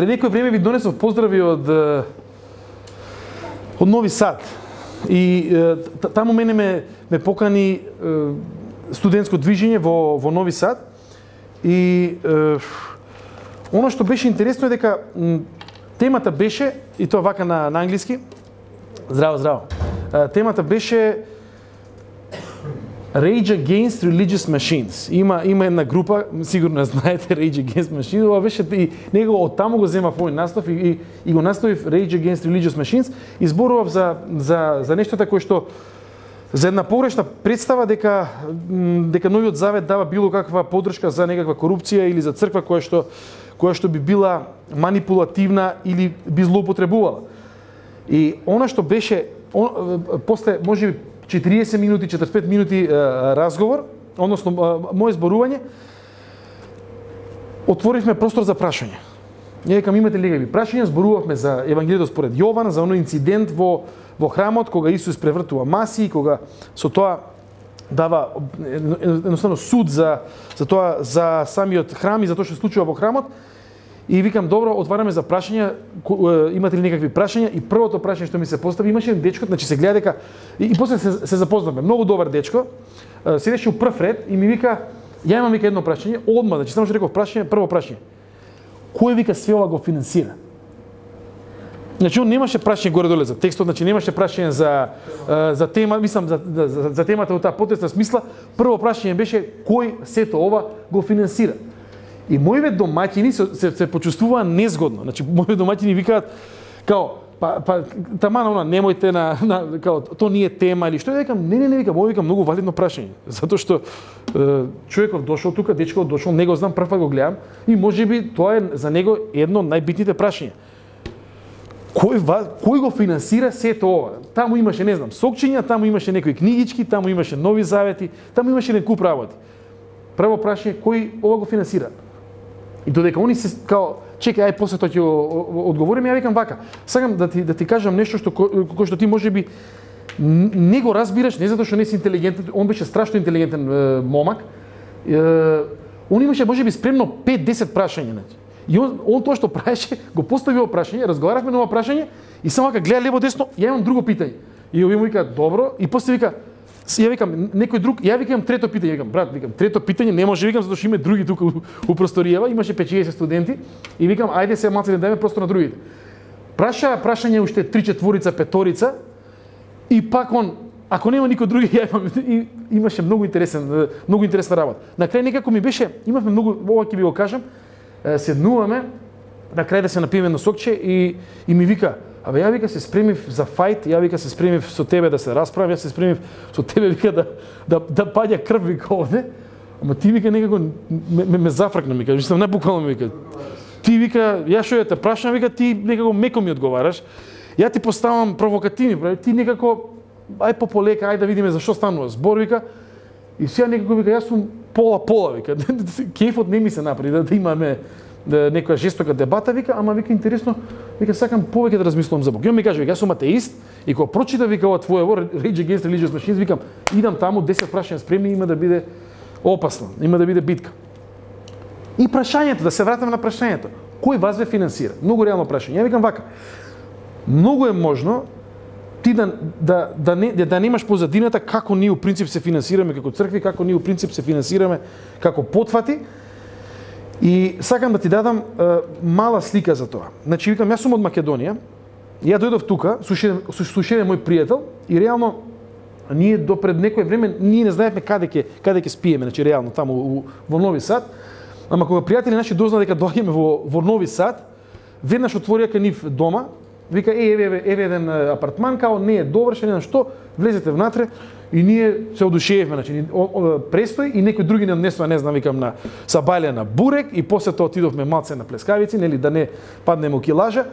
Пред некој време ви донесов поздрави од Нови Сад. И таму мене ме покани студентско движење во Нови Сад. И она што беше интересно е дека темата беше, и тоа вака на англиски, здраво. Темата беше Rage Against Religious Machines. Има една група, сигурно знаете Rage Against Machines, ова беше и него од таму го земав овој настав и го наставив Rage Against Religious Machines и зборував за нештата кои што за една погрешна представа дека Новиот Завет дава било каква поддршка за некаква корупција или за црква која што би била манипулативна или би злоупотребувала. И она што беше после можеби 40 минути, 45 минути разговор, односно моje зборување, отворивме простор за прашање. Ја викам, имате ли некакви прашања? Зборувавме за Евангелието според Јован, за оној инцидент во храмот кога Исус превртува маси, кога со тоа дава едноставно суд за тоа, за самиот храм и за тоа што се случува во храмот. И викам, добро, отвараме за прашања, имате ли некакви прашања? И првото прашање што ми се постави, имаше еден дечко, значи се гледа дека и после се запознавме, многу добар дечко, седеше у прв ред и ми вика, ја имам вика едно прашање, одма, значи само што реков прашање, прво прашање. Кој вика све ова го финансира? Значи он немаше прашање горе-доле за текстот, значи немаше прашање за тема, мислам за темата во таа потесна смисла. Прво прашање беше кој сето ова го финансира? И моите домаќини се почувствуваа незгодно. Значи моите домаќини викаат као тамана она немојте као то не е тема или што, викам не викам, ово викам многу валидно прашање, затоа што човеков дошол тука, дечкот дошол, не го знам, прв пат го гледам и можеби тоа е за него едно од најбитните прашања. Кој го финансира сето ова? Таму имаше, не знам, сокчиња, таму имаше некои книгички, таму имаше нови завети, таму имаше еден куп работи. Прво прашање, кој ова го финансира? И додека они се као чекај, ај после тоа ќе одговориме, ја викам вака. Сакам да ти кажам нешто кој што ти можеби не го разбираш, не затоа што не си интелигентен, он беше страшно интелигентен момак. Он имаше можеби спремно 5-10 прашања, значи. И он тоа што правеше, го поставио прашање, разговаравме на ова прашање и само вака гледа лево десно, ја имам друго питање. И овие му вика добро и после вика ја викам некој друг, ја викам трето питање, викам брат, викам трето питање не може, викам затоа што има други тука у просторијава, имаше 5-60 студенти и викам ајде се малце да дајме простор на другите. Прашање уште 3-4 5 и пак он ако нема никој други, ја имаше многу интересна работа. На крај некако ми беше, имавме многу, ова ќе ви го кажам, седнуваме, на крај да се напиеме на сокче и ми вика, абе ја вика се спремив за фајт, ја вика се спремив со тебе да се расправам, ја се спремив со тебе вика да паѓа крв вика овде. Ама ти вика некако ме зафркна вика, што најбуквално вика. Ти вика, ја што ја те прашам, вика ти некако меко ми одговараш. Ја ти поставам провокативни, ти некако ај пополека, ај да видиме за што станува збор вика. И сега некако вика јас сум пола вика. Кефот не ми се направи да имаме некоја жестока дебата вика, ама вика интересно, вика сакам повеќе да размислувам за Бог. И он ми каже вика јас сум атеист и кога прочита вика ова твоево Rage Against Religious Machines, викам идам таму 10 прашања спремни, има да биде опасно, има да биде битка. И прашањето, да се вратиме на прашањето. Кој вас ве финансира? Многу реално прашање. Ја викам вака. Многу е можно ти да немаш позадината како ние у принцип се финансираме како цркви, како ние у принцип се финансираме како потфати. И сакам да ти дадам мала слика за тоа. Значи викам јас сум од Македонија. Ја дојдов тука, слушање мој пријател и реално ние до пред некој време ние не знаевме каде ќе спиеме, значи реално таму во Нови Сад. Ама кога пријатели наши дозна дека доаѓаме во Нови Сад, веднаш отворија кај нив дома, вика еве еден апартман, као не е довршен, не знам што, влезете внатре и ние се одушевивме, значи престои и некој други не однесува, не знам, викам на сабајле на бурек и после тоа отидовме малце на плескавици, нели да не паднеме у килажа.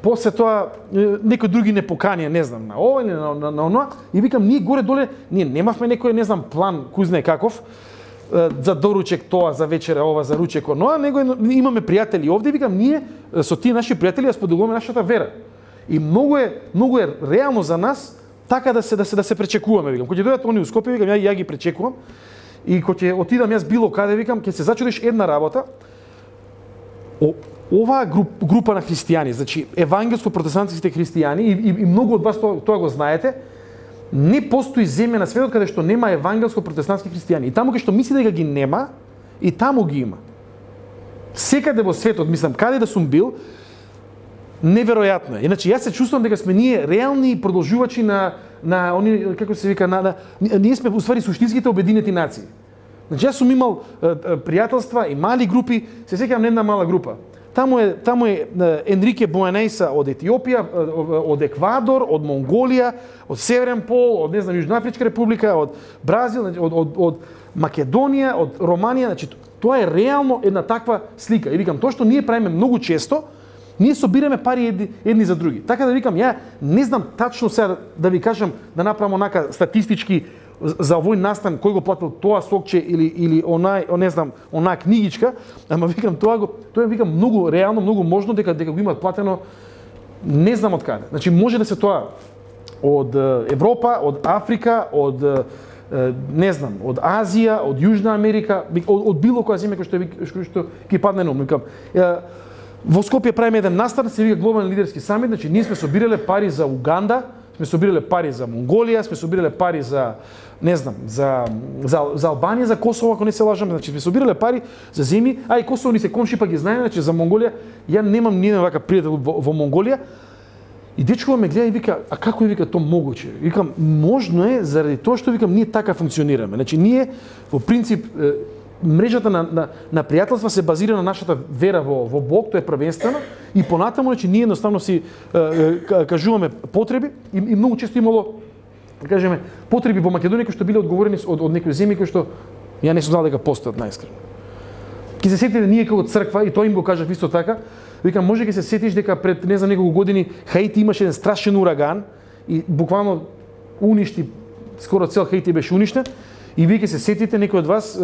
После тоа некој други не поканија, не знам, на ова или на оноа и викам ние горе-доле, ние немавме некој, не знам, план, кој знае каков, за доручек тоа, за вечера ова, за ручек оноа, него имаме пријатели овде, викам ние со тие наши пријатели ја споделуваме нашата вера. И многу е реално за нас така да се пречекуваме, викам. Кога ќе дојдат они у Скопје, викам ја ги пречекувам. И кога ќе отидам јас било каде, викам, ќе се зачудиш една работа. оваа група на христијани, значи евангелско-протестантските христијани и многу од вас тоа го знаете, не постои земја на светот каде што нема евангелско-протестантски христијани. И таму каде што мисли дека ги нема, и таму ги има. Секаде во светот, мислам, каде да сум бил, неверојатно е. Иначе јас се чувствувам дека сме ние реални продолжувачи на они, како се вика, ние сме уствари суштинските обединети нации. Значи јас сум имал пријателства и мали групи, се сеќавам на една мала група. Таму е Енрике Буенејса од Етиопија, од Еквадор, од Монголија, од Северен пол, од не знам Јужноафричка република, од Бразил, од Македонија, од Романија, значи тоа е реално една таква слика. И викам, тоа што ние правиме многу често, ние собираме пари едни за други. Така да викам, ја не знам тачно сега да ви кажам, да направам онака статистички за овој настан кој го платил тоа сокче или не знам, онаа книгичка, ама викам тоа викам многу реално, многу можно дека го имаат платено не знам од каде. Значи може да се тоа од Европа, од Африка, од не знам, од Азија, од Јужна Америка, од било која земја кој што ќе падне на ум. Викам, во Скопје правиме еден настан, се вика глобален лидерски самит, значи ние сме собирале пари за Уганда, сме собирале пари за Монголија, сме собирале пари за не знам, за Албанија, за Косово, ако не се лажам, значи сме собирале пари за земји, а и Косово ни се комши, па ги знаеме, значи за Монголија, ја немам ни еден вака пријател во Монголија. И дечкова ме гледа и вика, а како е вика тоа могуче? Викам, можно е заради тоа што викам ние така функционираме. Значи ние во принцип мрежата на пријателства се базира на нашата вера во Бог, тоа е првенствено, и понатаму, значи ние едноставно си кажуваме потреби и многу често имало, да кажеме, потреби во Македонија кои што биле одговорени од некои земји кои што ја не сум знал дека постојат најискрено. Ки се сетите ние како црква, и тоа им го кажав исто така, викам, може ќе се сетиш дека пред не знам неколку години Хаити имаше еден страшен ураган и буквално уништи, скоро цел Хаити беше уништен. И вие ќе се сетите, некои од вас,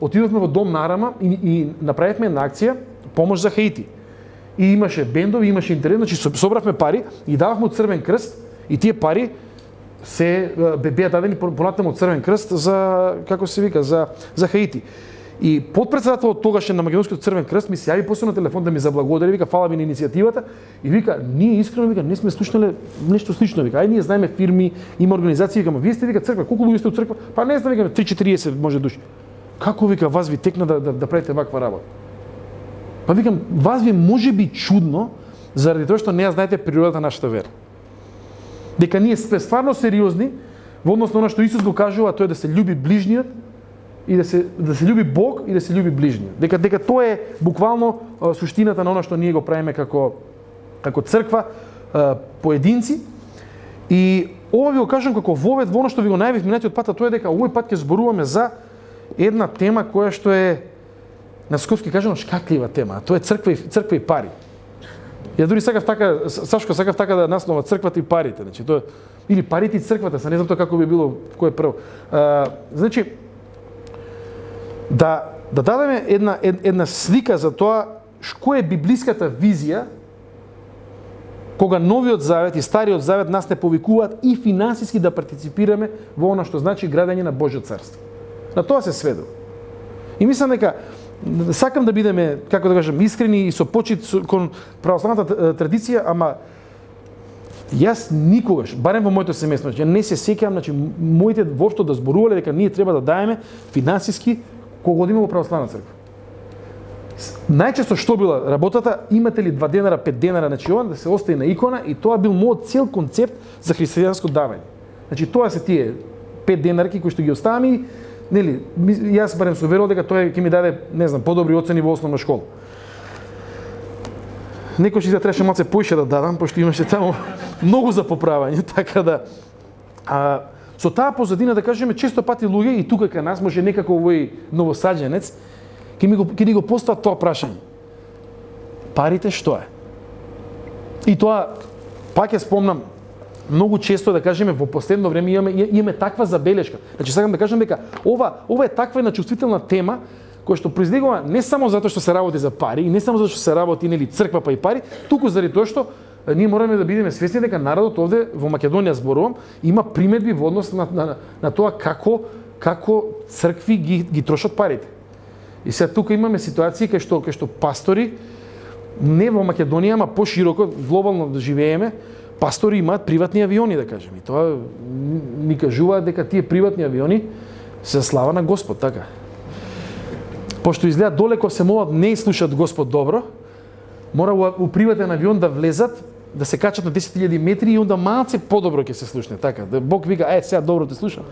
отидовме во Дом на Арама и направивме една акција помош за Хаити. И имаше бендови, имаше интернет, значи собравме пари и дававме од Црвен крст и тие пари се беа дадени понатаму од Црвен крст за, како се вика, за Хаити. И подпредседателот тогаш на Македонскиот Црвен крст ми се јави после на телефон да ми заблагодари, вика фала ви на иницијативата и вика ние искрено вика не сме слушнале нешто слично, вика ај ние знаеме фирми, има организации, викаме вие сте вика црква, колку луѓе сте у црква? Па не знам, викаме 3-40 може души. Како вика вас ви текна да правите ваква работа? Па викам вас ви може би чудно заради тоа што не ја знаете природата на нашата вера. Дека ние сме стварно сериозни во однос на она што Исус го кажува, тоа е да се љуби ближниот и да се љуби Бог и да се љуби ближниот. Дека тоа е буквално суштината на она што ние го правиме како црква, поединци. И ова ви го кажам како вовед во она што ви го најавив минатиот пат, тоа е дека овој пат ќе зборуваме за една тема која што е на скопски кажано шкаклива тема, тоа е црква и пари. Ја дури сакав така да наснова црквата и парите, значи тоа или парите и црквата, не знам тоа како би било кој е прво. Значи да дадеме една слика за тоа која е библиската визија кога Новиот Завет и Стариот Завет нас не повикуваат и финансиски да партиципираме во она што значи градење на Божјо царство. На тоа се сведува. И мислам дека сакам да бидеме, како да кажам, искрени и со почит кон православната традиција, ама јас никогаш, барем во моето семејство, ја не се сеќавам, значи моите воопшто да зборувале дека ние треба да даеме финансиски кога одиме во православна црква. Најчесто што била работата, имате ли 2 денара, 5 денара, значи ова да се остави на икона и тоа бил мојот цел концепт за христијанско давање. Значи тоа се тие 5 денарки кои што ги оставам, нели, јас барем се уверувал дека тоа ќе ми даде, не знам, подобри оцени во основна школа. Некој ќе требаше малце поише да дадам, пошто имаше таму многу за поправање, така да со таа позадина да кажеме често пати луѓе и тука кај нас може некако овој новосаđенец ќе ни го постават тоа прашање. Парите што е? И тоа пак ја спомнам многу често да кажеме во последно време имаме таква забелешка. Значи сакам да кажам дека ова е таква една чувствителна тема која што произлегува не само затоа што се работи за пари и не само затоа што се работи нели црква па и пари, туку заради тоа што ние мораме да бидеме свесни дека народот овде во Македонија зборувам има примедби во однос на тоа како цркви ги трошат парите. И сега тука имаме ситуации кај што пастори не во Македонија, ама пошироко, глобално да живееме, пастори имаат приватни авиони, да кажем. И тоа ни кажуваат дека тие приватни авиони се слава на Господ, така. Пошто изгледа долеко се молат, не слушат Господ добро, мора у приватен авион да влезат, да се качат на 10.000 метри и онда малце подобро ќе се слушне, така. Да Бог вика, сега добро те слушам.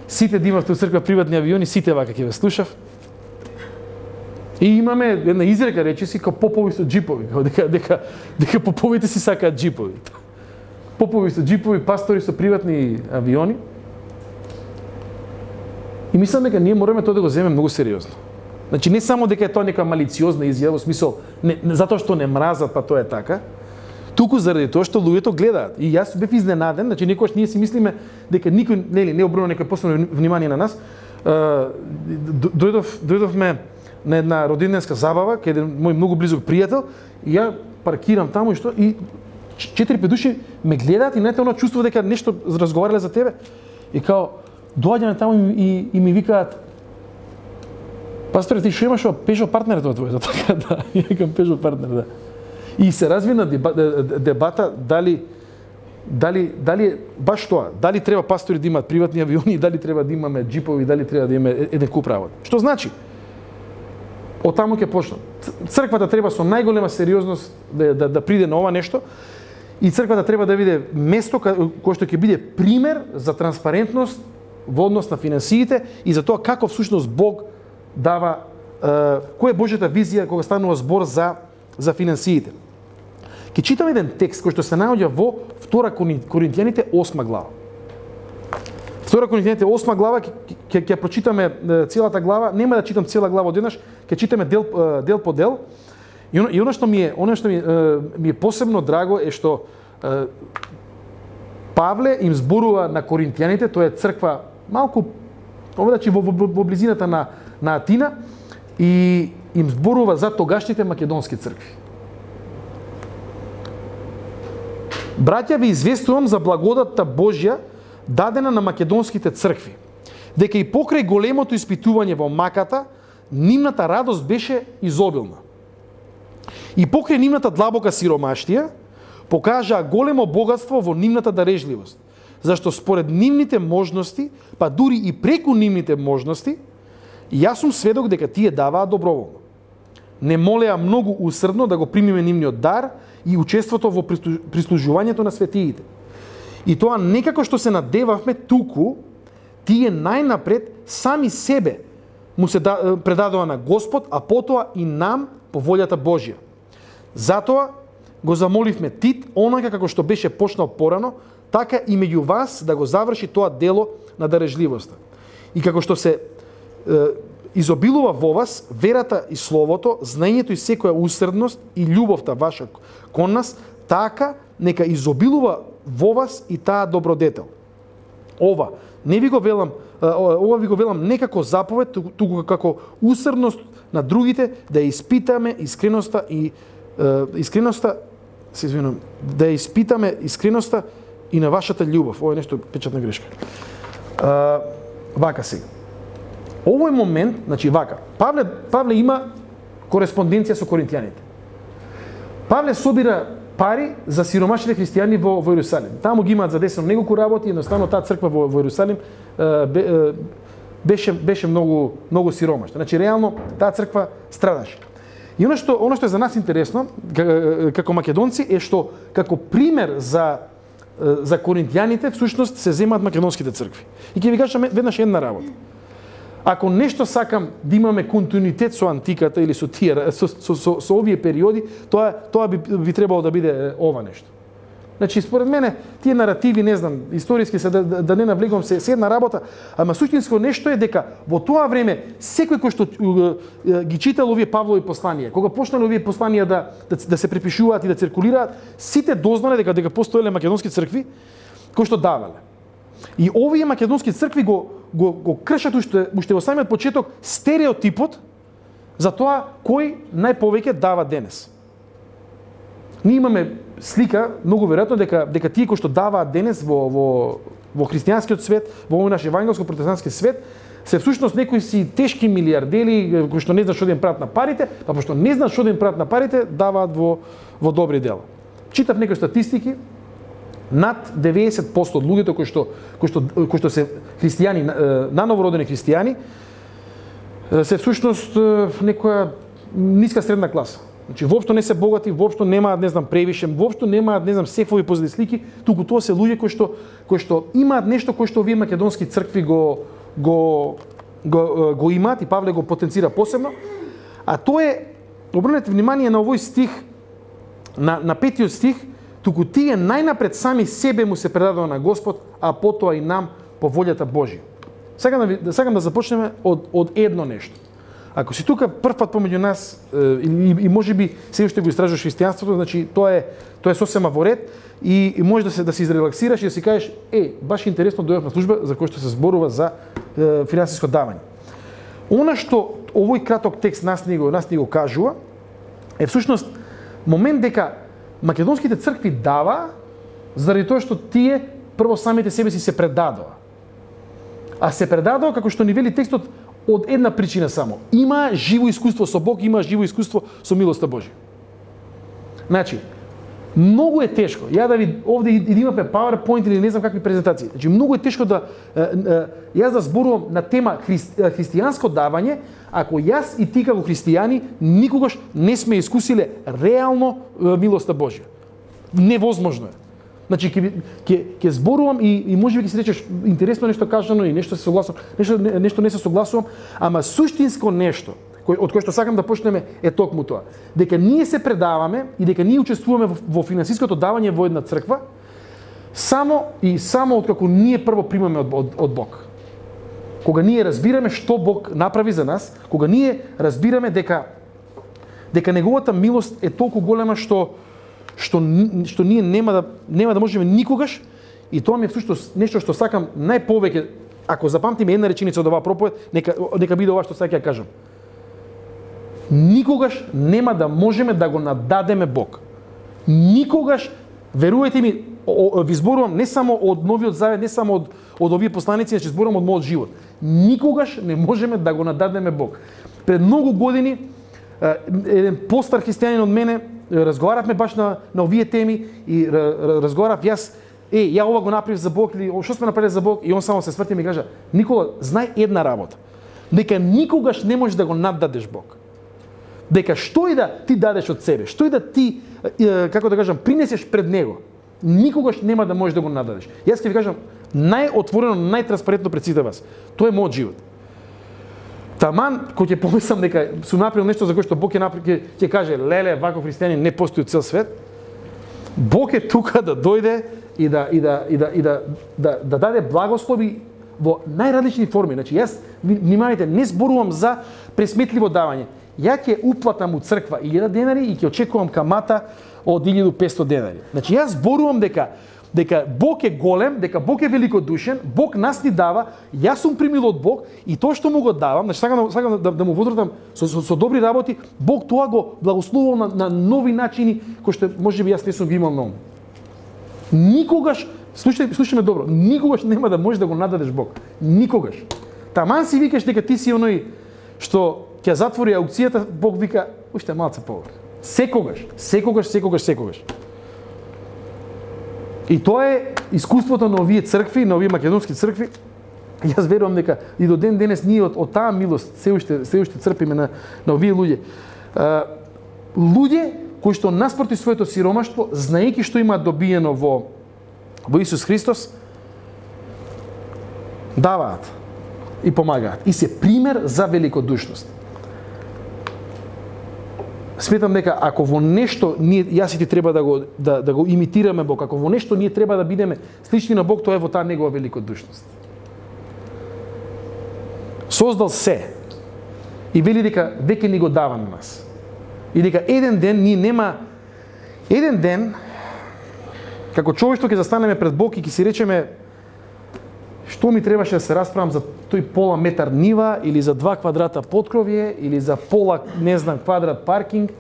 Сите да имавте у црква приватни авиони, сите вака ќе ве слушав. И имаме една изрека, рече си, као попови со джипови, дека поповите си сакаат джипови. Попови со джипови, пастори со приватни авиони. И мислам дека ние мораме тоа да го земеме многу сериозно. Значи не само дека е тоа нека малициозна изјава, во смисол не затоа што не мразат, па тоа е така, туку заради тоа што луѓето гледаат. И јас бев изненаден, значи некогаш ние си мислиме дека никој не обрнува некој посебно внимание на нас. Дојдовме на една роденденска забава, каде мој многу близок пријател, и ја паркирам таму и што и 4-5 души ме гледаат и најте оно чувство дека нешто разговарале за тебе. И као доаѓаме таму и ми викаат: "Пасторе, ти што имаш Пежо партнер тоа твој?" Така да, ја викам Пежо партнер, да. И се развина дебата дали е баш тоа, дали треба пастори да имаат приватни авиони, дали треба да имаме джипови, дали треба да имаме еден куп работа. Што значи? Од таму ќе почнам. Црквата треба со најголема сериозност да приде на ова нешто и црквата треба да биде место кое што ќе биде пример за транспарентност во однос на финансиите и за тоа како всушност Бог дава, која е Божјата визија кога станува збор за финансиите. Ќе читам еден текст кој што се наоѓа во 2 Коринтијаните 8 глава. 2 Коринтијаните 8 глава, ќе прочитаме целата глава, нема да читам цела глава одеднаш, ќе читаме дел по дел. И оно што ми е посебно драго е што Павле им зборува на коринтијаните, тоа е црква малку овдачи во близината на Атина, и им зборува за тогашните македонски цркви. Браќа, ви известувам за благодатта Божја дадена на македонските цркви, дека и покрај големото испитување во маката, нивната радост беше изобилна. И покрај нивната длабока сиромаштија, покажаа големо богатство во нивната дарежливост, зашто според нивните можности, па дури и преку нивните можности, јас сум сведок дека тие даваа доброволно. Не молеа многу усрдно да го примиме нивниот дар и учеството во прислужувањето на светиите. И тоа некако што се надевавме, туку тие најнапред сами себе му се предадоа на Господ, а потоа и нам по волјата Божја. Затоа го замоливме Тит, онака како што беше почнал порано, така и меѓу вас да го заврши тоа дело на дарежливоста. И како што се изобилува во вас верата и словото, знаењето и секоја усредност и љубовта ваша кон нас, така нека изобилува во вас и таа добродетел. Ова ви го велам не како заповед, туку како усредност на другите, да испитаме искреноста и на вашата љубов. Ова е нешто печатна грешка. Вака сега. Овој момент, значи вака, Павле има кореспонденција со коринтијаните. Павле собира пари за сиромашните христијани во Јерусалим. Таму ги имаат задесено неколку работи, едноставно таа црква во Јерусалим беше многу сиромашна. Значи реално таа црква страдаше. И оно што е за нас интересно како македонци е што како пример за коринтијаните всушност се земаат македонските цркви. И ќе ви кажам веднаш една работа. Ако нешто сакам да имаме континуитет со антиката или со овие периоди, тоа би требало да биде ова нешто. Значи, според мене, тие наративи, не знам, историски се да не навлегувам се една работа, ама суштинско нешто е дека во тоа време секој кој што ги читал овие Павлови посланија, кога почнале овие посланија да се препишуваат и да циркулираат, сите дознале дека постоеле македонски цркви кои што давале. И овие македонски цркви го кршат уште во самиот почеток стереотипот за тоа кој најповеќе дава денес. Ние имаме слика, многу веројатно дека тие кои што даваат денес во христијанскиот свет, во овој наш евангелско-протестантски свет, се всушност некои си тешки милиардери кои што не знаат што да им прават на парите, па пошто не знаат што да им прават на парите, даваат во добри дела. Читав некои статистики, над 90% од луѓето кои што се христијани, нановородени христијани, се всушност некоја ниска средна класа. Значи воопшто не се богати, воопшто немаат, не знам, превише, воопшто немаат, не знам, сефови позади слики, туку тоа се луѓе кои што имаат нешто кој што овие македонски цркви го имаат и Павле го потенцира посебно. А тоа е, обрнете внимание на овој стих, на 5-тиот стих, туку тие најнапред сами себе му се предадоа на Господ, а потоа и нам по волјата Божја. Сакам да започнеме од едно нешто. Ако си тука прв пат помеѓу нас и можеби се уште го истражуваш христијанството, значи тоа е сосема во ред и може да се изрелаксираш и да си кажеш баш интересно дојдов на служба за кој што се зборува за финансиско давање. Она што овој краток текст нас ни го кажува е всушност момент дека македонските цркви дава заради тоа што тие прво самите себе си се предадоа. А се предадоа како што ни вели текстот од една причина само. Има живо искуство со Бог, има живо искуство со милоста Божја. Значи, многу е тешко. Ја да ви овде и да имаме PowerPoint или не знам какви презентации. Значи, многу е тешко јас да зборувам на тема христијанско давање, ако јас и ти како христијани никогаш не сме искусиле реално милоста Божја. Невозможно е. Значи, ќе зборувам и можеби ќе се речеш интересно нешто кажано и нешто се согласувам, нешто не се согласувам, ама суштинско нешто, од кое што сакам да почнеме е токму тоа. Дека ние се предаваме и дека ние учествуваме во финансиското давање во една црква, само откако ние прво примаме од Бог. Кога ние разбираме што Бог направи за нас, кога ние разбираме дека неговата милост е толку голема што ние нема да можеме никогаш, и тоа ми е всушност нешто што сакам најповеќе, ако запамтиме една реченица од оваа проповед, нека биде ова што сакам да кажам. Никогаш нема да можеме да го нададеме Бог. Никогаш, верувајте ми, ви зборувам не само од Новиот Завет, не само од овие посланици, значи зборувам од мојот живот. Никогаш не можеме да го нададеме Бог. Пред многу години еден постар христијанин од мене разговаравме баш на овие теми и разговарав јас, ја ова го направив за Бог или што сме направили за Бог, и он само се сврти и ми кажа: Никола, знај една работа, дека никогаш не можеш да го наддадеш Бог. Дека што и да ти дадеш од себе, што и да ти, како да кажам, принесеш пред него, никогаш нема да можеш да го наддадеш. Јас ќе ви кажам најотворено, најтранспарентно пред сите вас. Тоа е мојот живот. Таман, кој ќе помислам дека сум направил нешто за кое што Бог ќе каже: леле, вако христијани не постои цел свет. Бог е тука да дојде и да даде благослови во најразлични форми. Значи, јас, внимавајте, не зборувам за пресметливо давање. Ја ќе уплатам у црква 1000 денари и ќе очекувам камата од 1500 денари. Значи, јас зборувам дека Бог е голем, дека Бог е великодушен, Бог нас ни дава, јас сум примил од Бог и тоа што му го давам, значи сакам да му возвратам со добри работи, Бог тоа го благословувал на нови начини кои што можеби јас не сум ги имал на ум. Никогаш, слушаме добро, никогаш нема да можеш да го нададеш Бог. Никогаш. Таман си викаш дека ти си оној што ќе затвори аукцијата, Бог вика уште малце повеќе. Секогаш. И тоа е искуството на овие цркви, на овие македонски цркви. Јас верувам дека и до ден денес ние од таа милост се уште црпиме на овие луѓе. Луѓе кои што наспроти своето сиромаштво, знаејќи што имаат добиено во Исус Христос, даваат и помагаат. И се пример за великодушност. Сметам дека ако во нешто јас и ти треба да го имитираме Бог, ако во нешто ние треба да бидеме слични на Бог, тоа е во таа негова великодушност. Создал се и вели дека веќе ни го дава на нас. И дека еден ден како човештво ќе застанеме пред Бог и ќе си речеме: што ми требаше да се расправам за тој пола метар нива, или за 2 квадрата поткровје, или за пола, не знам, квадрат паркинг.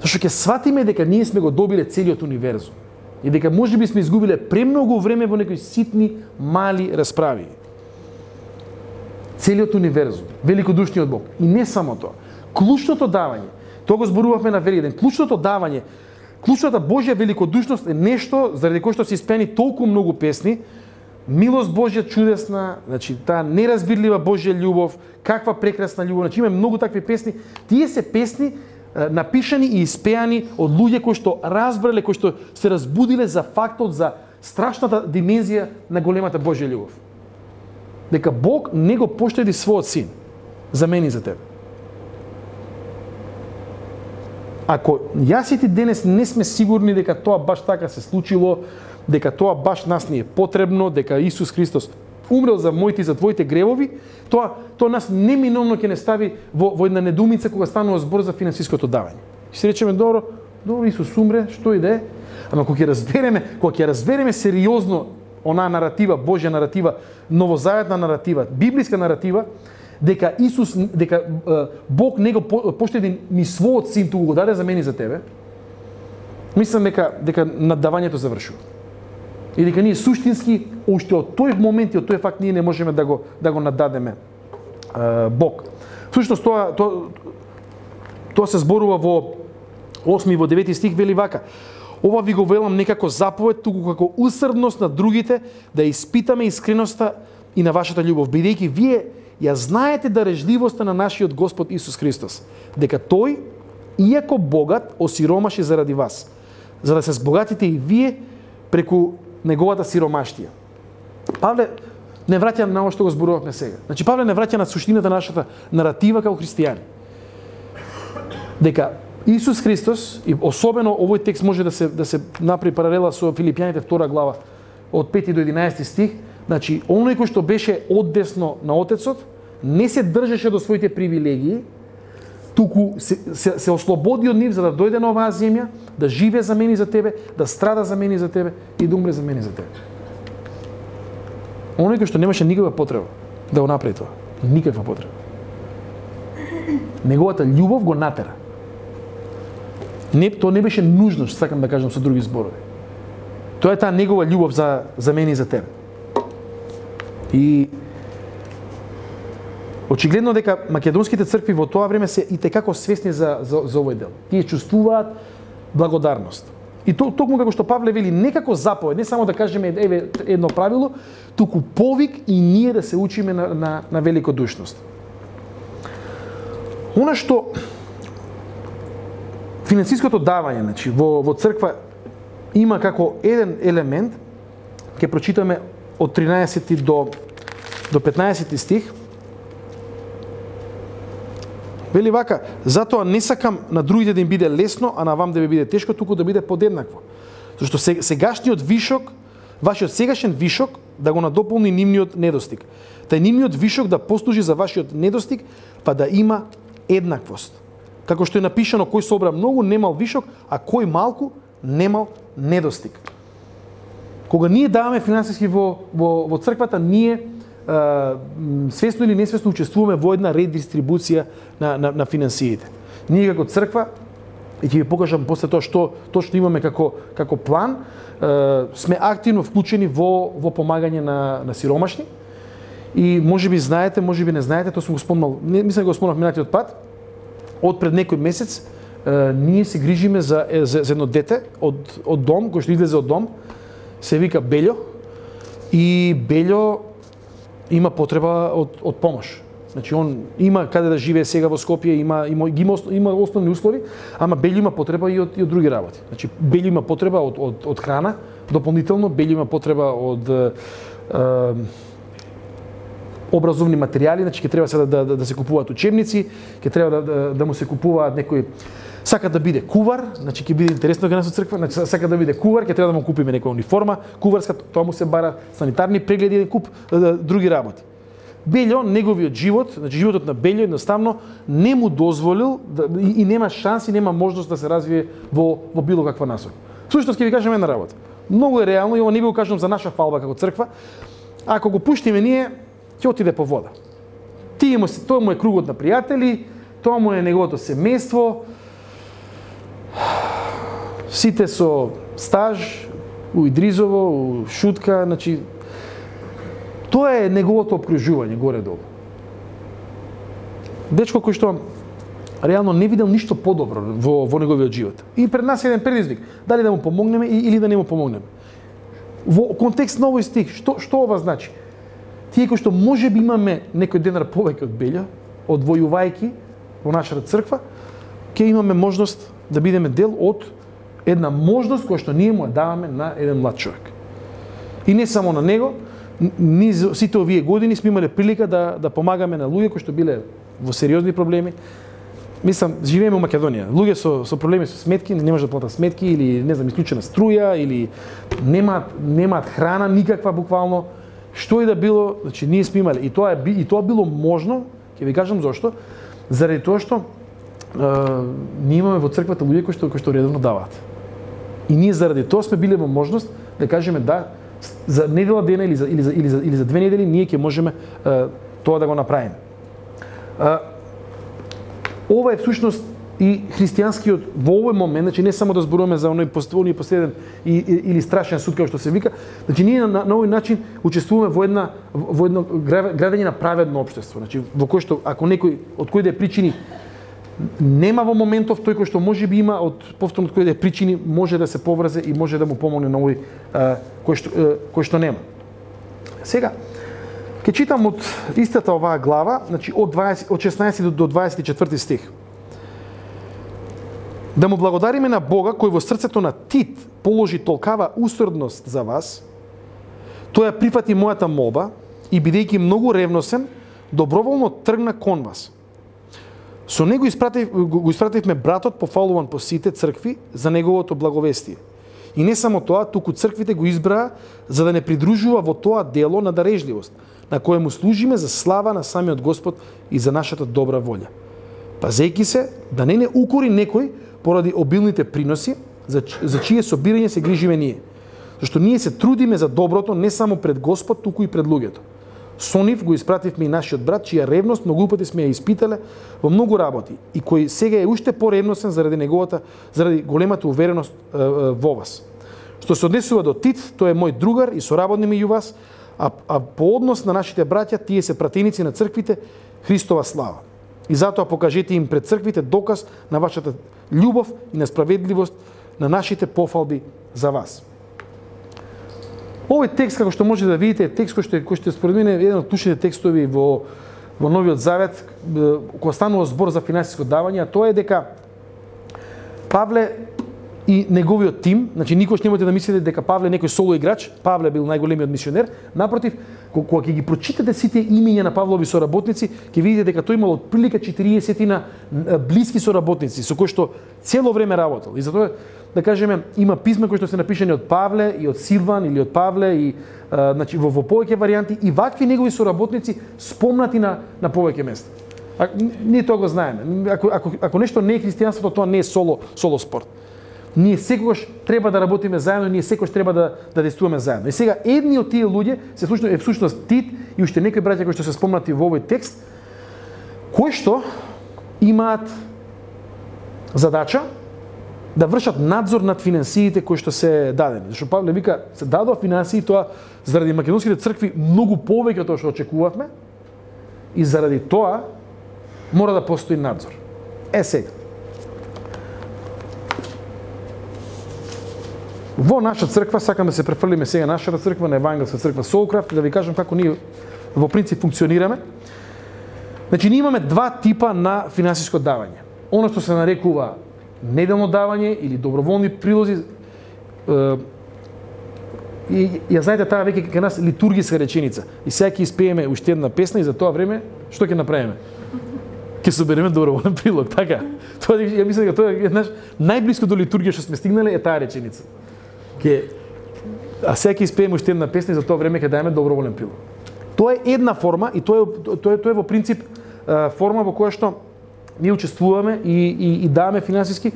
Зашто ќе сватиме дека ние сме го добиле целиот универзум. И дека можеби сме изгубиле премногу време во некои ситни, мали расправи. Целиот универзум, великодушниот Бог. И не само тоа. Клучното давање, тоа го зборувавме на Великден, клучното давање, клучната Божја великодушност е нешто заради кое што се испеани толку многу песни, милост Божја чудесна, значи таа неразбирлива Божја љубов, каква прекрасна љубов, значи има многу такви песни. Тие се песни напишани и испеани од луѓе кои што разбрале, кои што се разбудиле за фактот, за страшната димензија на големата Божја љубов. Дека Бог не го поштеди својот син за мене и за тебе. Ако јас и ти денес не сме сигурни дека тоа баш така се случило, дека тоа баш нас ни е потребно, дека Исус Христос умрел за моите и за твоите гревови, тоа нас неминовно ќе не стави во една недоумица кога станува збор за финансиското давање. Ќе се речеме добро, Исус умре, што и да е, ама кога ќе разбереме сериозно онаа наратива, Божја наратива, новозаветна наратива, библиска наратива, дека Бог не го поштеди ни својот син, туку го даде за мене и за тебе, мислам дека наддавањето завршува. И дека ние суштински, уште од тој момент и од тој факт ние не можеме да го наддадеме Бог. Всушност тоа се зборува во 8 и во 9 стих, вели вака: ова ви го велам некако заповед, туку како усрдност на другите, да испитаме искреноста и на вашата љубов, бидејќи вие ја знаете дарежливоста на нашиот Господ Исус Христос, дека тој, иако богат, осиромаше заради вас, за да се збогатите и вие преку неговата сиромаштија. Павле не враќа на ово што го зборувавме сега. Значи Павле не враќа на суштината на нашата наратива како христијани. Дека Исус Христос, и особено овој текст може да се направи паралела со Филипјаните 2 глава од 5 до 11 стих, значи оној кој што беше оддесно на Отецот, не се држеше до своите привилегии, туку се ослободи од нив за да дојде на оваа земја, да живее за мене и за тебе, да страда за мене и за тебе и да умре за мене и за тебе. Оној кој што немаше никаква потреба да го направи тоа. Никаква потреба. Неговата љубов го натера. Тоа не беше нужност, сакам да кажам со други зборови. Тоа е таа негова љубов за мене и за тебе. И очигледно дека македонските цркви во тоа време се и текако свесни за овој дел. Тие чувствуваат благодарност. И токму како што Павле вели, не како заповед, не само да кажеме едно правило, туку повик и ние да се учиме на великодушност. Она што финансиското давање, значи во црква има како еден елемент, ќе прочитаме од 13 до 15 стих. Вели вака: затоа не сакам на другите да им биде лесно, а на вам да ви биде тешко, туку да биде подеднакво. Зашто сегашниот вишок, вашиот сегашен вишок да го надополни нивниот недостиг. Тај нивниот вишок да послужи за вашиот недостиг, па да има еднаквост. Како што е напишано, кој собра многу немал вишок, а кој малку немал недостиг. Кога ние даваме финансиски во црквата, ние свесно или несвесно учествуваме во една редистрибуција на финансиите. Ние како црква, и ќе ви покажам после тоа што точно имаме како план, сме активно вклучени во помагање на сиромашни. И можеби знаете, можеби не знаете, тоа сум го спомнал, мислам го спомнав минатиот пат, од пред некој месец ние се грижиме за едно дете од дом, кој што излезе од дом, се вика Белјо, и Белјо има потреба од помош. Значи он има каде да живее сега во Скопје, има основни услови, ама Белјо има потреба и од други работи. Значи Белјо има потреба од храна, дополнително Белјо има потреба од образовни материјали, значи ќе треба сега да се купуваат учебници, ќе треба да му се купуваат некои, сака да биде кувар, значи ќе биде интересно кај нас во црква, значи сака да биде кувар, ќе треба да му купиме некоја униформа, куварска, тоа му се бара, санитарни прегледи, еден куп други работи. Белјо, неговиот живот, значи животот на Белјо едноставно не му дозволил и нема шанси, нема можност да се развие во било каква насока. Всушност ќе ви кажам една работа. Многу е реално и ова не ви го кажам за наша фалба како црква. Ако го пуштиме ние, ќе отиде по вода. Тоа му е кругот на пријатели, тоа му е неговото семејство. Сите со стаж, у Идризово, у Шутка, значи тоа е неговото обкружување горе-долу. Дечко кој што реално не видел ништо подобро во неговиот живот. И пред нас е еден предизвик, дали да му помогнеме или да не му помогнеме. Во контекст на овој стих, што ова значи? Тие кои што можеби имаме некој денар повеќе од Белја, одвојувајќи во нашата црква, ќе имаме можност да бидеме дел од една можност која што ние му ја даваме на еден млад човек. И не само на него, ние сите овие години сме имале прилика да помагаме на луѓе кои што биле во сериозни проблеми. Мислам, живееме во Македонија. Луѓе со проблеми со сметки, не можат да платат сметки или не знам, исклучена струја или немаат храна никаква буквално. Што и да било, значи ние сме имале и тоа било можно, ќе ви кажам зошто, заради тоа што ние имаме во црквата луѓе кои што редовно даваат. И ние заради тоа сме биле во можност да кажеме да за недела дена или за 2 недели ние ќе можеме тоа да го направиме. Ова е всушност и христијанскиот во овој момент, значи не само да зборуваме за оној последен или страшен суд како што се вика, значи ние на овој начин учествуваме во едно градење на праведно општество, значи во кој што ако некој од кој да е причини нема во моментов, тој кој што можеби има повторно од кој да е причини може да се поврзе и може да му помогне на овој кој што нема. Сега ќе читам од истата оваа глава, значи од 16 до 24 стих. Да му благодариме на Бога кој во срцето на Тит положи толкава усрдност за вас, тој ја прифати мојата молба и бидејќи многу ревносен, доброволно тргна кон вас. Со него го испративме братот пофалуван по сите цркви за неговото благовестие. И не само тоа, туку црквите го избраа за да не придружува во тоа дело на дарежливост, на кое му служиме за слава на самиот Господ и за нашата добра волја. Пазејќи се да не укори некој поради обилните приноси, за чие собирање се грижиме ние. Зашто ние се трудиме за доброто не само пред Господ, туку и пред луѓето. Со нив го испративме и нашиот брат, чија ревност многу пати сме ја испитале во многу работи и кој сега е уште поревносен заради големата увереност во вас. Што се однесува до Тит, тој е мој другар и соработник меѓу вас, а по однос на нашите браќа, тие се пратеници на црквите Христова слава. И затоа покажете им пред црквите доказ на вашата љубов и на справедливост на нашите пофалби за вас. Овој текст, како што може да видите, е текст кој што според мене е еден од клучните текстови во Новиот Завет, кога станува збор за финансиско давање, а тоа е дека Павле и неговиот тим, значи никош немате да мислите дека Павле е некој соло играч, Павле бил најголемиот мисионер, напротив, кога ќе ги прочитате сите имиња на Павлови соработници, ќе видите дека тој имал отприлика 40 блиски соработници со кои што цело време работел. И затоа да кажеме, има писма кои што се напишани од Павле и од Силван или од Павле и значи во повеќе варијанти и вакви негови соработници спомнати на повеќе места. Ние тоа го знаеме. Ако нешто не е христијанството, тоа не е соло спорт. Ние секогаш треба да работиме заедно, ние секогаш треба да действуваме заедно. И сега едни од тие луѓе е всушност Тит и уште некои браќа кои што се спомнати во овој текст, кои што имаат задача да вршат надзор над финансиите кои што се дадени. Зашто Павле вика, се дадоа финансии, тоа заради македонските цркви многу повеќе од тоа што очекувавме и заради тоа мора да постои надзор. Сега. Во наша црква, сакам да се префрлиме сега нашата црква, на Евангелска црква Солкрафт, да ви кажам како ние во принцип функционираме. Значи, ние имаме два типа на финансиско давање. Оно што се нарекува неделно давање или доброволни прилози. И ја знаете таа веќе кај нас литургиска реченица. И сега ќе испееме уште една песна и за тоа време што ќе направиме? Ќе собереме доброволен прилог, така? Тоа ја мислам дека тоа е најблиско до литургија што сме стигнале е таа реченица. А сега ќе испееме уште една песна и за тоа време ќе даеме доброволен прилог. Тоа е една форма и тоа е во принцип форма во која што ние учествуваме и даваме финансиски.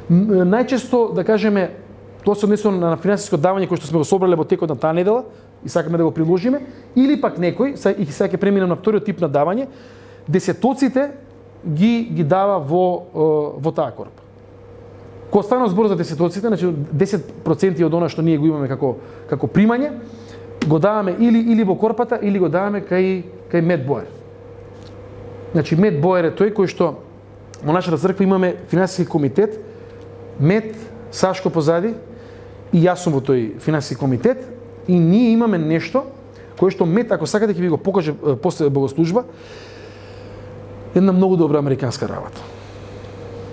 Најчесто, да кажеме, тоа се однесува на финансиско давање кој што сме го собрале во текот на таа недела и сакаме да го приложиме, или пак некој, и сега ќе преминем на вториот тип на давање, десетоците ги дава во таа корпа. Кога станува збор за десетоците, значи 10% од она што ние го имаме како примање, го даваме или во корпата, или го даваме кај Мет Боер. Значи Мет Боер е тој кој што во нашата црква имаме финансиски комитет, Мет, Сашко позади и јас сум во тој финансиски комитет и ние имаме нешто кое што Мет, ако сакате ќе ви го покаже после богослужба, една многу добра американска работа.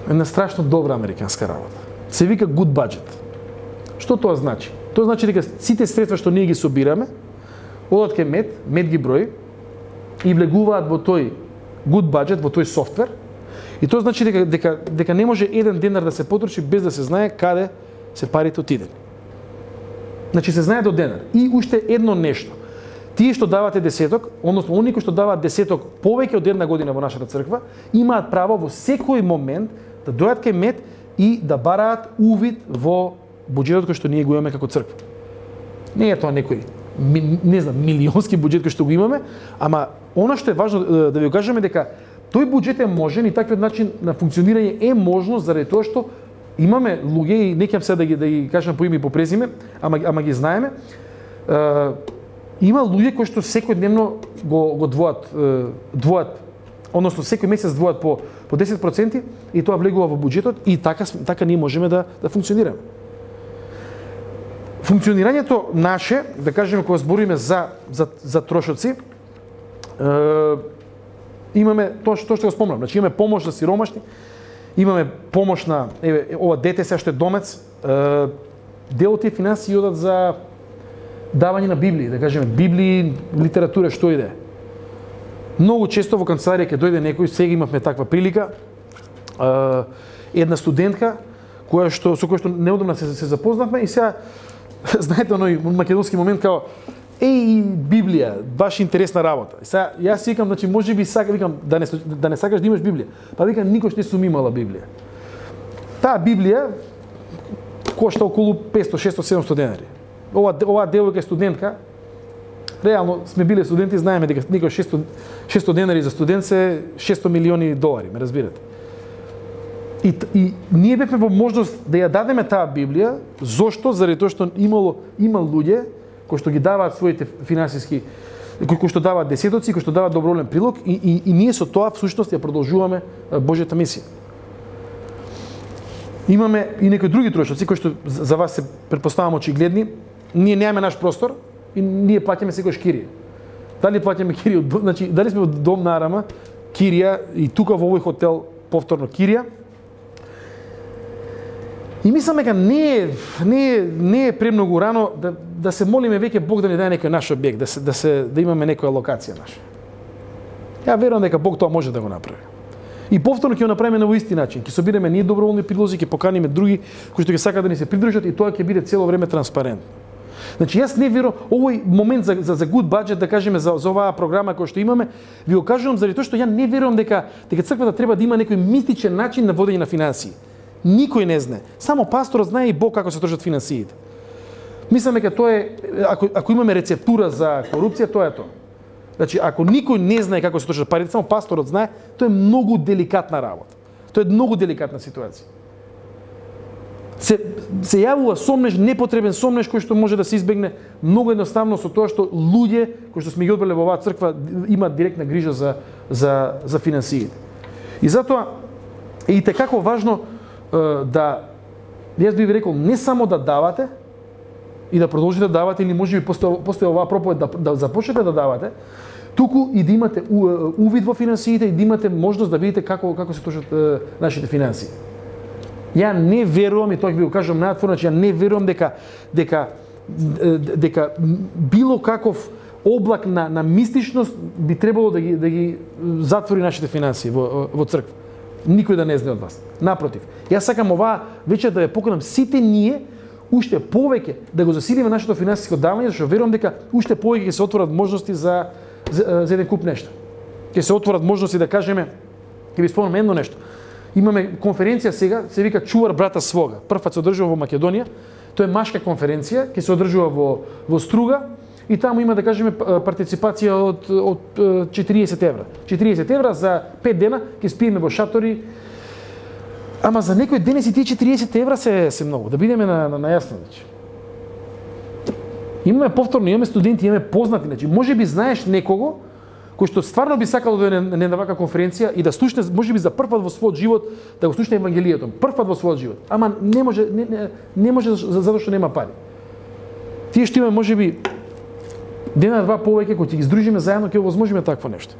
Една страшно добра американска работа. Се вика good budget. Што тоа значи? Тоа значи дека сите средства што ние ги собираме, одат кај Мет ги брои и влегуваат во тој good budget, во тој софтвер. И тоа значи дека не може еден денар да се потроши без да се знае каде се парите отидени. Значи се знае до денар. И уште едно нешто. Тие што давате десеток, односно оние кои што даваат десеток повеќе од една година во нашата црква, имаат право во секој момент да дојдат кај Мет и да бараат увид во буџетот кој што ние го имаме како црква. Не е тоа некој, не знам, милионски буџет кој што го имаме, ама она што е важно да ви кажеме дека тој буџет е можен и таквиот начин на функционирање е можно заради тоа што имаме луѓе и не ќе се да ги кажам по име и по презиме, ама ги знаеме. Има луѓе кои што секојдневно го двоат, односно секој месец двоат по 10% и тоа влегува во буџетот и така ние можеме да функционираме. Функционирањето наше, да кажеме кога збориме за трошоци, имаме тоа што го спомнам, значи имаме помош за сиромашни, имаме помош на ова дете се што е домец, дел од тие финансии одат за давање на Библии, да кажеме Библии, литература, што и да е. Многу често во канцеларија ќе дојде некој, сега имавме таква прилика, една студентка со која што неодамна се запознавме и сега знаете оној македонски момент као Библија, баш интересна работа. И сега јас си викам, значи можеби викам да не сакаш да имаш Библија. Па викам никош не сум имала Библија. Таа Библија кошта околу 500, 600, 700 денари. Ова девојка е студентка. Реално сме биле студенти, знаеме дека некој 600 денари за студент се 600 милиони долари, ме разбирате. И ние бевме во можност да ја дадеме таа Библија, зошто? Заради тоа што има луѓе кои што ги даваат своите финансиски, кои што даваат десетоци, кои што даваат доброволен прилог и ние со тоа всушност ја продолжуваме Божјата мисија. Имаме и некои други трошоци кои што за вас се претпоставам очигледни. Ние немаме наш простор и ние плаќаме секој кирија. Дали плаќаме кирија, значи дали сме во дом на Арама, кирија и тука во овој хотел повторно кирија. И мислам дека не е премногу рано да се молиме веќе Бог да ни даде некој наш објект, да имаме некоја локација наша. Ја верувам дека Бог тоа може да го направи. И повторно ќе го направиме на воисти начин. Ќе собираме ние доброволни прилози, ќе поканиме други кои што ќе сакаат да ни се придружат и тоа ќе биде цело време транспарентно. Значи јас не верувам овој момент за good budget, да кажеме за оваа програма која што имаме, ви го кажувам заради тоа што ја не верувам дека црквата треба да има некој мистичен начин на водење на финансии. Никој не знае. Само пасторот знае и Бог како се трошат финансиите. Мислам дека тоа е, ако имаме рецептура за корупција, тоа е тоа. Значи, ако никој не знае како се трошат парите, само пасторот знае, тоа е многу деликатна работа. Тоа е многу деликатна ситуација. Се јавува сомнеш, непотребен сомнеш кој што може да се избегне многу едноставно со тоа што луѓе кои што сме ги одбрале во оваа црква имаат директна грижа за финансиите. И затоа е и tekako важно да, јас би рекол, не само да давате и да продолжите да давате или можеби после оваа проповед да започнете да давате, туку и да имате увид во финансиите и да имате можност да видите како се трошат нашите финансии. Ја не верувам, и тоа ќе ви го кажам најотворено, че ја не верувам дека било каков облак на мистичност би требало да ги затвори нашите финансии во црква. Никој да не знае од вас. Напротив, јас сакам оваа вечер да ве поканам сите ние уште повеќе да го засилиме нашето финансиско давање, зашто верувам дека уште повеќе ќе се отворат можности за еден куп нешта. Ќе се отворат можности да кажеме, ќе ви спомнам едно нешто. Имаме конференција сега, се вика Чувар брата свога. Првпат се одржува во Македонија. Тоа е машка конференција, ќе се одржува во Струга и таму има да кажеме партиципација од 40 евра. 40 евра за 5 дена ќе спиеме во шатори. Ама за некој денес и тие 40 евра се многу, да бидеме на јасно, значи. Имаме повторно, имаме студенти, имаме познати, значи можеби знаеш некого кој што стварно би сакало да е на вака конференција и да слушне, можеби за прв пат во својот живот, да го слушне евангелието, прв пат во својот живот. Ама не може затоа што нема пари. Тие што имаме можеби дена-два повеќе кои ќе ги здружиме заедно, ќе овозможиме такво нешто.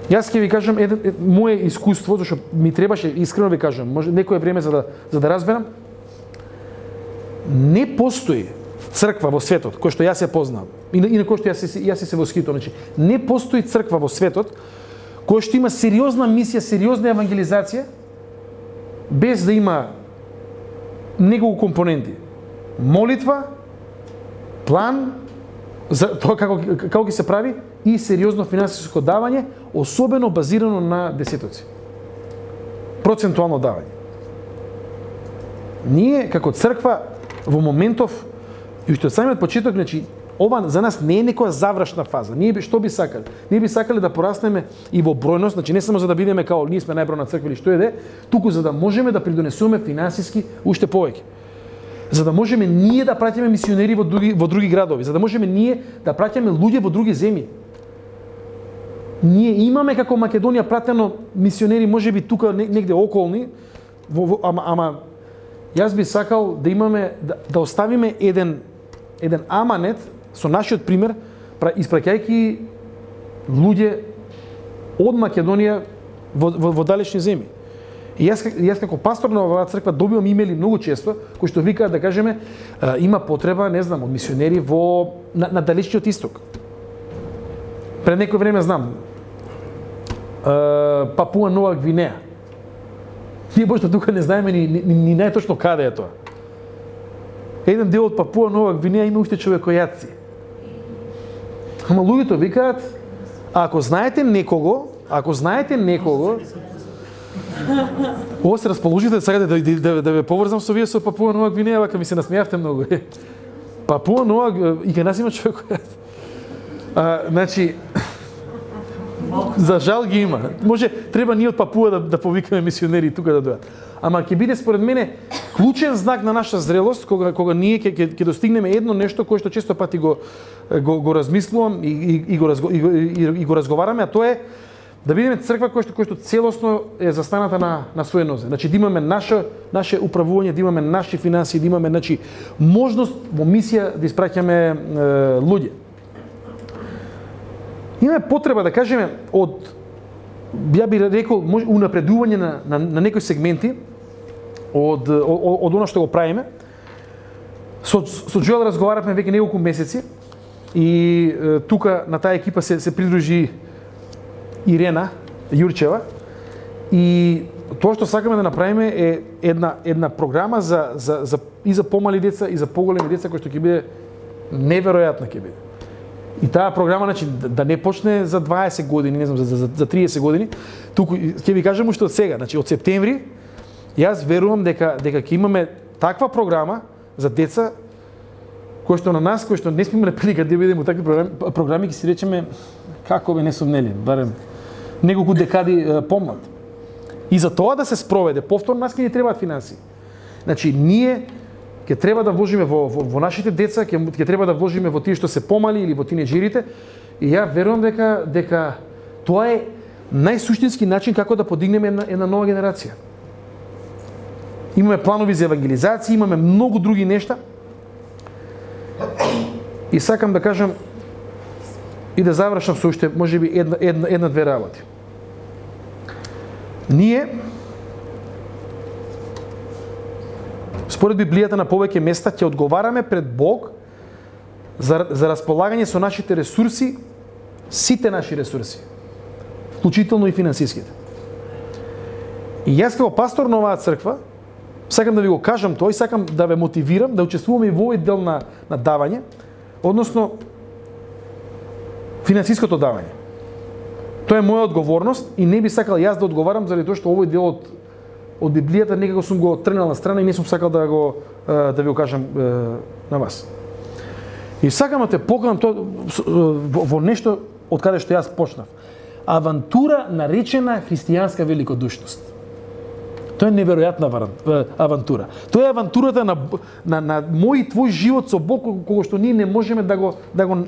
Јас ќе ви кажам мое искуство, зашто ми требаше, искрено ви кажам, може некое време за да разберам, не постои црква во светот, кој што јас ја познавам, и на кој што јас се восхитувам, значи не постои црква во светот кој што има сериозна мисија, сериозна евангелизација, без да има неколку компоненти. Молитва, план за тоа како ќе се прави и сериозно финансиско давање, особено базирано на десетоци. Процентуално давање. Ние како црква во моментов и уште од самиот почеток, значи ова за нас не е некоја завршна фаза. Ние што би сакале? Ние би сакале да пораснеме и во бројност, значи не само за да бидеме као ние сме најбројна црква или што е, туку за да можеме да придонесуваме финансиски уште повеќе. За да можеме ние да праќаме мисионери во други градови, за да можеме ние да праќаме луѓе во други земји. Ние имаме како Македонија пратено мисионери, можеби тука негде околни, ама јас би сакал да имаме да оставиме еден аманет со нашиот пример, испраќајќи луѓе од Македонија во далечни земји. И јас како пастор на оваа црква добивам имели многу често кои што викаат да кажеме има потреба, не знам, од мисионери на далечниот исток. Пред некој време знам Папуа Нова Гвинеја. Ние бошто тука не знаеме ни најточно каде е тоа. Еден дел од Папуа Нова Гвинеја има уште човекојаци. Ама луѓето викаат, ако знаете некого, Ово се расположите, сакате да ве поврзам со вие со Папуа Нова Гвинеја, вака ми се насмеавте многу. Папуа Нова и кај нас има човекојаци. Значи, за жал ги има. Може, треба ние од Папуа да повикаме мисионери тука да дојдат. Ама ќе биде според мене клучен знак на наша зрелост кога ние ќе достигнеме едно нешто кое што често пати го размислувам и го разговараме, а тоа е да бидеме црква која што целосно е застаната на своје нозе. Значи да имаме наше управување, да имаме наши финансии, да имаме можност во мисија да испраќаме луѓе. Имаме потреба да кажеме ја би рекол унапредување на некои сегменти од она што го правиме. Со Джоел разговаравме веќе неколку месеци и тука на таа екипа се придружи Ирена Јурчева и тоа што сакаме да направиме е една програма и за помали деца и за поголеми деца кој што ќе биде неверојатна ќе биде. И таа програма значи да не почне за 20 години, не знам за 30 години, туку ќе ви кажам уште од сега, значи од септември јас верувам дека ќе имаме таква програма за деца кој што на нас, кој што не сме имале прилика да бидеме во такви програми, ќе си речеме како бе не сум нели, барем неколку декади помлад. И за тоа да се спроведе, повторно нас ќе ни требаат финансии. Значи ние ќе треба да вложиме во нашите деца, ќе треба да вложиме во тие што се помали или во тинеџерите. И ја верувам дека тоа е најсуштински начин како да подигнеме една нова генерација. Имаме планови за евангелизација, имаме многу други нешта. И сакам да кажам и да завршам со уште можеби една-две работи. Ние според Библијата на повеќе места ќе одговараме пред Бог за располагање со нашите ресурси, сите наши ресурси, вклучително и финансиските. И јас како пастор на оваа црква сакам да ви го кажам тоа и сакам да ве мотивирам да учествуваме и во овој дел на давање, односно финансиското давање. Тоа е моја одговорност и не би сакал јас да одговарам заради тоа што овој дел од Библијата некако сум го тргнал на страна и не сум сакал да ви го кажам на вас. И сакам да те поканам во нешто од каде што јас почнав. Авантура наречена христијанска великодушност. Тоа е неверојатна авантура. Тоа е авантурата на мој и твој живот со Бог, кога што ние не можеме да го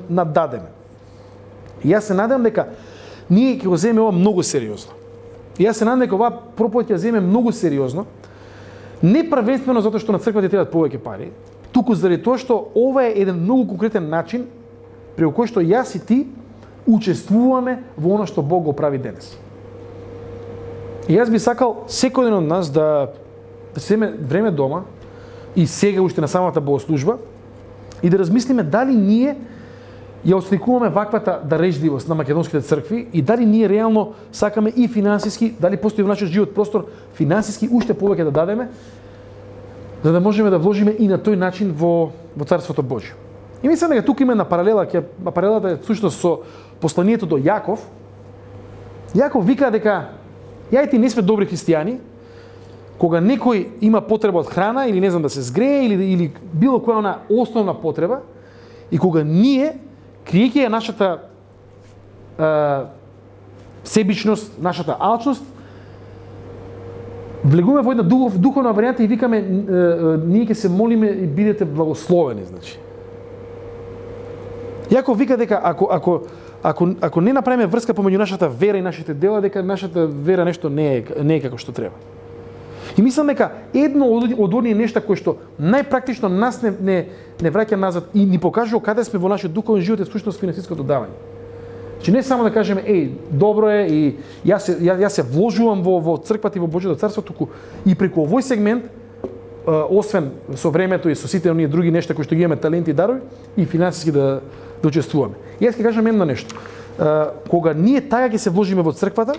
наддадеме. И јас се надевам дека ние ќе го земеме ова многу сериозно. И јас се надевам дека оваа проповед ќе земеме многу сериозно, не првенствено затоа што на црквата требаат повеќе пари, туку заради тоа што ова е еден многу конкретен начин преку кој што јас и ти учествуваме во она што Бог го прави денес. И јас би сакал секој ден од нас да се земе време дома и сега уште на самата богослужба и да размислиме дали ние ја осликуваме ваквата дарежливост на македонските цркви и дали ние реално сакаме и финансиски, дали постои во нашиот живот простор финансиски уште повеќе да дадеме, за да можеме да вложиме и на тој начин во Царството Божјо. И мислам дека тука има една паралела, паралелата е всушност со посланието до Јаков. Јаков вика дека ја и ти не сме добри христијани, кога некој има потреба од храна или не знам да се згрее или било која она основна потреба, и кога ние, криејќи ја нашата себичност, нашата алчност, влегуваме во една духовна варијанта и викаме ние ќе се молиме и бидете благословени, значи. Јаков вика дека ако не направиме врска помеѓу нашата вера и нашите дела, дека нашата вера нешто не е како што треба. И мислам дека едно од оние нешта кои што најпрактично нас не враќа назад и ни покажува каде сме во нашиот духовен живот е всушност финансиското давање. Значи не само да кажеме добро е и јас се вложувам во црквата и во Божјото царство, туку и преку овој сегмент, освен со времето и со сите оние други нешта кои што ги имаме таленти и дарови, и финансиски да учествуваме. И јас ќе кажам едно нешто. Кога ние така ќе се вложиме во црквата,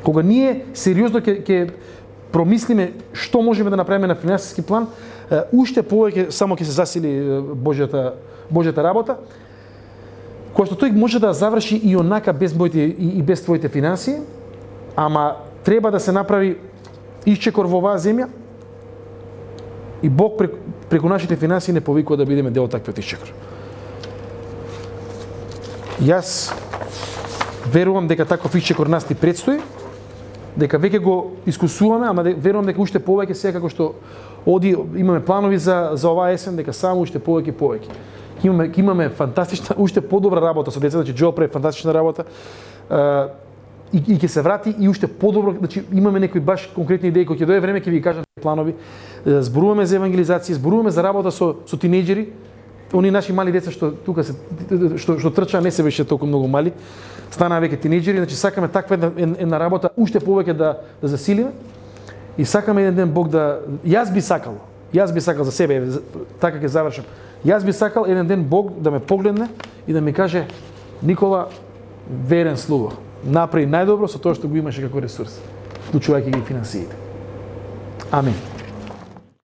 кога ние сериозно ќе промислиме што можеме да направиме на финансиски план, уште повеќе само ќе се засили Божјата работа, која што тој може да заврши и онака без моите и без твоите финансии, ама треба да се направи исчекор во оваа земја и Бог преку нашите финансии не повикува да бидеме дел од таквиот исчекор. Јас верувам дека таков исчекор нас ни предстои, дека веќе го искусуваме, ама верувам дека уште повеќе сега како што имаме планови за оваа есен, дека само уште повеќе. Ќе имаме фантастична, уште подобра работа со децата, значи Джоел прави фантастична работа. И ќе се врати и уште подобро, значи имаме некои баш конкретни идеи, кога ќе дое време ќе ви кажам планови. Зборуваме за евангелизација, зборуваме за работа со тинејџери. Они наши мали деца што тука што трчаа не се беше толку многу мали, станаа веќе тинејџери, значи сакаме таква една работа уште повеќе да засилиме и сакаме еден ден Бог да јас би сакал за себе, така ќе завршам. Јас би сакал еден ден Бог да ме погледне и да ми каже: Никола, верен слуго, направи најдобро со тоа што го имаше како ресурс, вклучувајќи ги финансиите. Амин.